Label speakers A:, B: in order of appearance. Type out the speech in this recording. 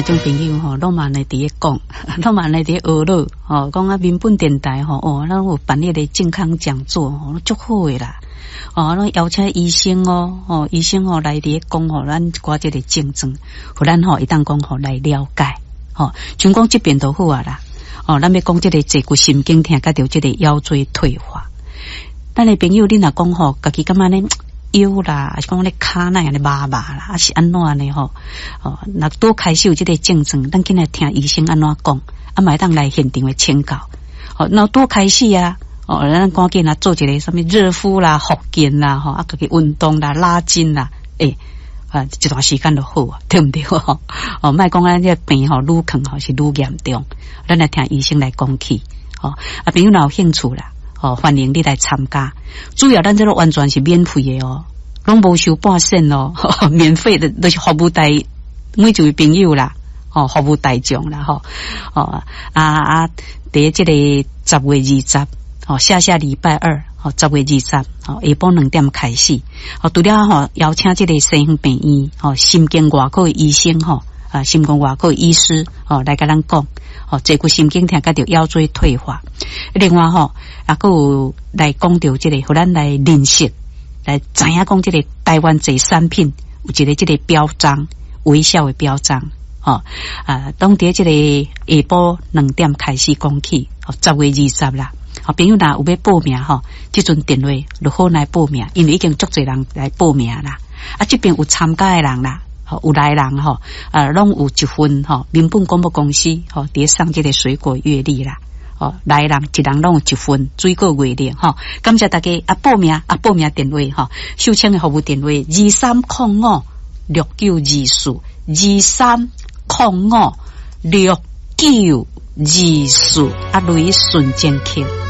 A: 聽眾朋友吼，攏嘛按呢佇咧講，攏嘛按呢佇咧學樂吼，講啊民本電台吼，哦，咱有辦彼個健康講座吼，足好的啦。哦，攏邀請醫生哦，吼，醫生吼來佇咧講吼，咱一寡這個症狀，予咱吼會當講吼來了解，吼，像講這邊就好啊啦。哦，咱欲講這個坐骨神經疼，佮著這個腰椎退化。咱的朋友，你若講吼，家己感覺呢腰啦，抑是講咧跤哪按呢麻麻啦，抑是按怎呢吼？哦，若拄開始有這個症狀，咱緊來聽醫生按怎講，啊，嘛會當來現場的請教。吼，若拄開始啊，哦，咱趕緊啊做一个啥物熱敷啦、復健啦，吼，啊，家己運動啦、拉筋啦，欸，啊，一段時間就好啊，對毋對？哦，莫講咱這個病吼，愈囥吼是愈嚴重，咱來聽醫生來講起。吼，啊，朋友若有興趣啦，哦，歡迎你來參加。主要咱這個完全是免費的哦，攏無收半仙哦，免費的，都是服務大每一位朋友啦，哦，服務大眾啦，吼，哦，啊啊，佇這個10月20，哦，下下禮拜二，哦，10月20，哦，下晡2點開始，哦，除了吼邀請這個西園病院，吼，神經外科的醫生，吼，啊，神經外科醫師，哦，來共咱講，哦，坐骨神經疼佮著腰椎退化。另外吼，啊，閣有來講著這個，予咱來認識，來知影講這個台灣這產品有一個這個標章，微笑的標章，吼，啊，當佇這個下晡兩點開始講起，哦，十月二十啦。好，朋友若有欲報名吼，這陣電話就好來報名，因為已經足濟人來報名啦。啊，這邊有參加的人啦，有來人吼，啊，攏有一份吼，民本廣播公司吼，佇送這個水果月曆啦。哦，來人一人攏有一份水果月曆吼，感謝大家啊！報名啊，報名電話吼，秀清的服務電話23056924，23056924，啊，雷順正客。